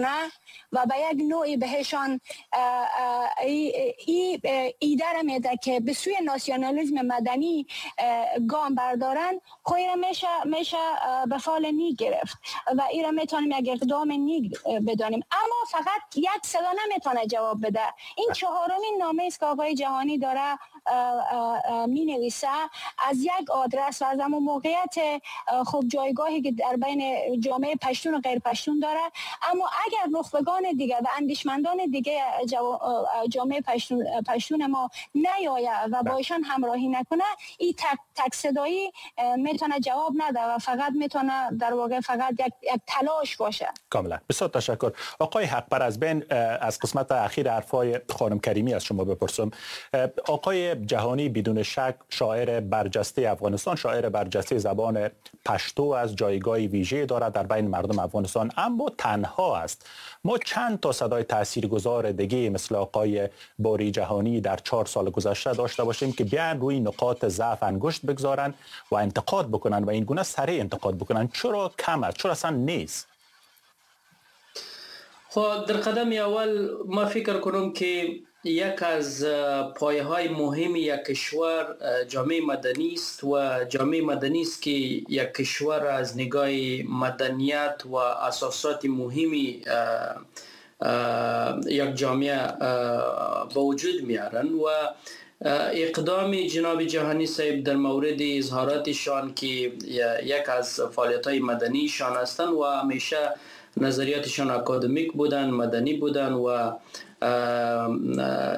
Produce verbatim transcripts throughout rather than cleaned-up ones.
و به یک نوعی بهشان ای ایده را میده که به سوی ناسیونالیسم مدنی گام بردارن، خو ایره میشه میشه به فال نیک گرفت و ایره میتونیم یک اقدام نیک بدانیم. اما فقط یک صدا نمیتونه جواب بده. این چهارمین نامه است که آقای جهانی داره می نویسه از یک آدرس و از همون موقعیت خب جایگاهی که در بین جامعه پشتون و غیر پشتون داره. اما اگر نخبگان دیگه و اندیشمندان دیگه جامعه پشتون, پشتون ما نیاید و با ایشان همراهی نکنه، این تک, تک صدایی میتونه جواب نده و فقط میتونه در واقع فقط یک, یک تلاش باشه. کاملا، بسیار تشکر. آقای حقپر، از بین از قسمت اخیر حرفای خانم کریمی از شما بپرسم. آقای جهانی بدون شک شاعر برجسته افغانستان، شاعر برجسته زبان پشتو از جایگاه ویژه دارد در بین مردم افغانستان، اما تنها است. ما چند تا صدای تاثیرگذار دیگه مثل آقای باری جهانی در چهار سال گذشته داشته باشیم که بیان روی نقاط ضعف انگشت بگذارن و انتقاد بکنن و این گونه سریع انتقاد بکنن؟ چرا کم است؟ چرا اصلا نیست؟ خب در قدم اول ما فکر کنم که یک از پایه های مهم یک کشور جامعه مدنی است و جامعه مدنی است که یک کشور از نگاه مدنیت و اساسات مهمی یک جامعه به وجود میارن. و اقدام جناب جهانی صاحب در مورد اظهاراتشان که یک از فعالیت های مدنی شان هستند و همیشه نظریاتشان اکادمیک بودن، مدنی بودن و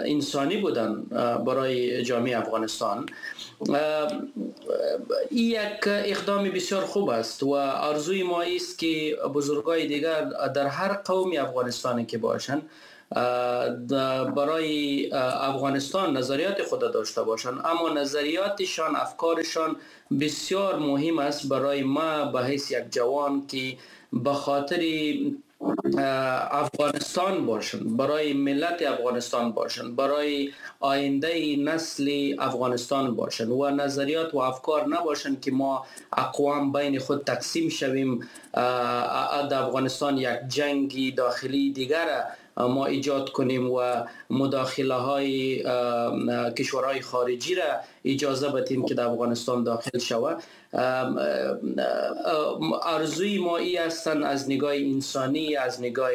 انسانی بودن برای جامعه افغانستان، این یک اقدام بسیار خوب است و آرزوی ما است که بزرگای دیگر در هر قومی افغانستانی که باشند برای افغانستان نظریات خود داشته باشند، اما نظریاتشان، افکارشان بسیار مهم است برای ما به حیث یک جوان که به خاطر افغانستان باشن، برای ملت افغانستان باشن، برای آینده نسل افغانستان باشن و نظریات و افکار نباشن که ما اقوام بین خود تقسیم شویم، در افغانستان یک جنگی داخلی دیگر ما ایجاد کنیم و مداخله های کشورهای خارجی را اجازه بدیم که در افغانستان داخل شود. آرزوی ما ای هستند از نگاه انسانی، از نگاه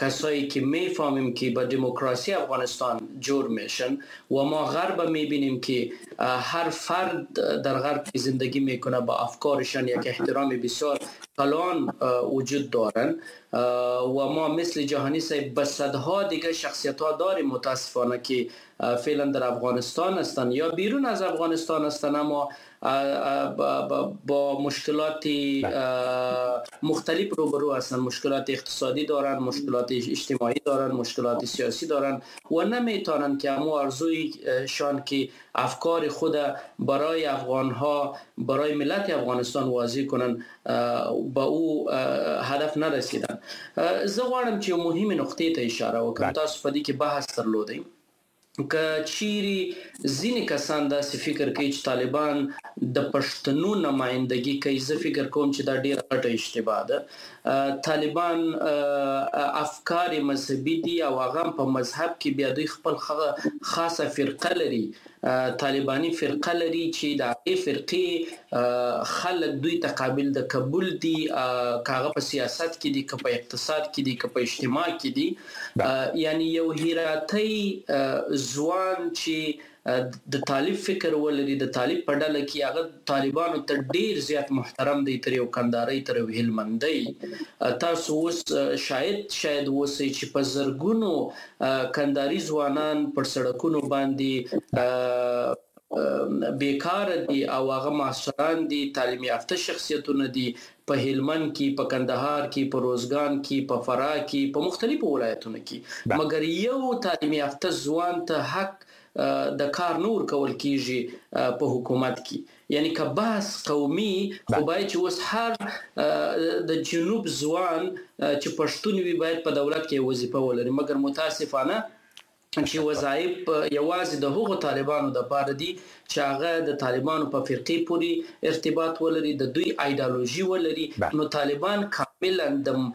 کسایی که میفهمیم که با دموکراسی افغانستان جور میشن و ما غرب میبینیم که هر فرد در غرب که زندگی میکنه با افکارشان یک احترام بسیار کلان وجود دارن و ما مثل جهانی صاحب به صدها دیگه شخصیت ها داریم متاسفانه که فعلا در افغانستان هستند یا بیرون از افغانستان هستند، اما با مشکلات مختلف روبرو هستند، مشکلات اقتصادی دارن، مشکلات اجتماعی دارن، مشکلات سیاسی دارن و نمیتونن که امو آرزوی شان که افکار خود برای افغان ها، برای ملت افغانستان واضح کنن، با او هدف نرسیدن. زه غواړم چې مهمه نقطې ته اشاره وکړم. تاسو په دې کې بحث درلودئ که چیرې ځینې کسان داسې فکر کوي چې طالبان د پښتنو نمایندګي کوي، زه فکر کوم چې دا ډیره غټه اشتباه ده. طالبان افکار مذهبي دي او هغه په مذهب کې بیا دوی خپل خاصه فرقه لري، طالباني فرقه لري چې د هغې فرقې خلک دوی ته قابل د قبول دي، که هغه په سیاست کې دي، که په اقتصاد کې دي، که په اجتماع کې دي. یعنی یو هراتي ځوان چې د طالب فکر ولري، د طالب په ډله کې هغه طالبانو ته ډیر زیات محترم دی، تر یو کنداري، تر یو هلمندی. تاسو اوس شاید شاید اوسئ چې په زرګونو کنداري ځوانان پر سړکونو باندې بیکار دي او هغه محصلان دي، تعلیم یافته شخصیتونه دي، په هلمند کې، په کندهار کې، په روزګان کې، په فراه کې، په مختلفو ولایتونو کې. مګر یو تعلیم یافته ځوان ته حق د کار نور کول کیږي په حکومت کې. یعنی که بحث قومي خو باید چې اوس هر د جنوب ځوان چې پښتون وي باید په دولت کې وظیفه ولري، مګر متاسفانه چې وظایف یوازې د هغو طالبانو د پاره دي چې هغه د طالبانو په فرقې پورې ارتباط ولري، د دوی ایډیالوژي ولري. نو طالبان کامل کاملا د